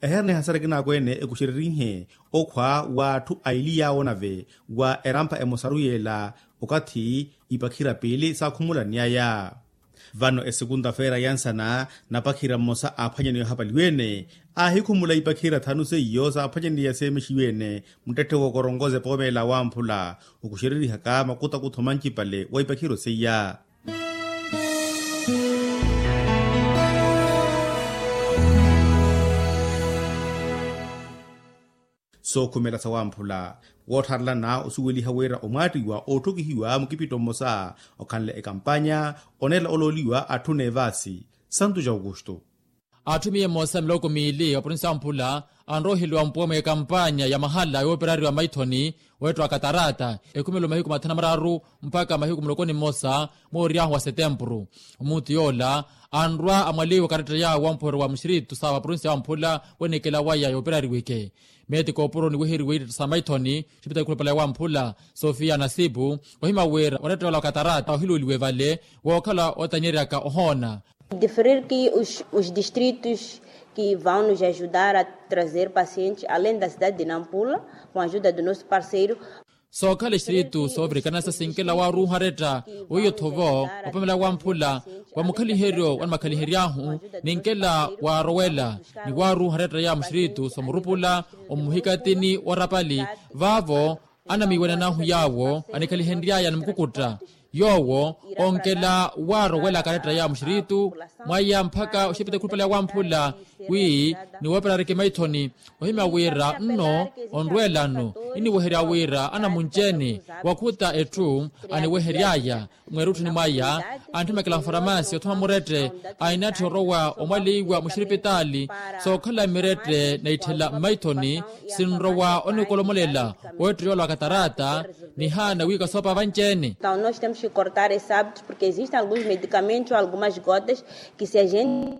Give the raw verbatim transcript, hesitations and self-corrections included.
Eherene hasara ekinaakwene ekuxererihe okhwa w'atthu aili yaawo nave wa erampha emosaru yeela okathi ipakhira piili saakhumulaniyaya. Vano esikunta-feera ya nsana napakhira mmosa aaphwanyaniwa ehapaliwene aahikhumula ipakhira thanu seiyo saaphwanyaniya seemexiwene muttetthe wookoronkoza epoomeela awamphula okuxererihaka makutakutho mancipale wa ipakhiro seiya. Sookhumela sawamphula woottharelana osuweliha wira omwaattiwa ootthokihiwa mukipitto mmosa okhanle ekampanya oneela olooliwa atthu n'evaasi santu ja aukustu. Atthumiye mmosa miloko miili wa provinsi ya mphula anroheliwa mpuwe mw'ekampanya ya mahala yooperariwa maithoni weettiwa katarata ekhumelo mahiku mathanu na mararu mpakha mahiku muloko ni mmosa mooryahu wa setempuru. Omunthu yoola anrwa amwaliwa karetta yaawo wa mphwero wa muxiritu sa wa provinsi ya mphula wenekela waya yooperariweke meeti kooporo niweheriwe ittetta sa maithoni. Xipitali khulupale ya wamphula sofiya nasipu ohima wira oretta yoola wa katarata ohiluuliwe vale wookhala otanyeryaka ohoona. Diferir ki os distritos ki vão nos ajudar a trazer pacientes além da cidade de nampula com ajuda do nosso parceiro. Sookhala exiritu soovirikana sa sinkela waaruuha aretta weiyo thovo opamela wamphula wa mukhaliheryo wanimakhalihery'ahu ninkela waarowela ni waaruuha aretta ya muxiritu soomurupula omuhikatini wa rapali vaavo anamiiwanan'ahu yaawo anikhalihenry'aya ni mukukutta yoowo onkela waarowela karetta ya muxiritu mwaya mpakha oxepita ekhulupale ya wamphula wi niwooperareke maithoni ohimya wira nno onrweelano iniweherya wira anamunci-ene wakhuta etthu aniwehery'aya mweerutthuni mwaya antthimekela mfaramaasi othuma murette ainatthi orowa omwaleiwa muxiripitaali sookhala mirette naitthela mmaithoni sinrowa onikolomolela weettiyola wa katarata nihaana wiika soopa vanci-ene. Nós temos que cortar esse hábito porque existem alguns medicamentos ou algumas gotas que se a gente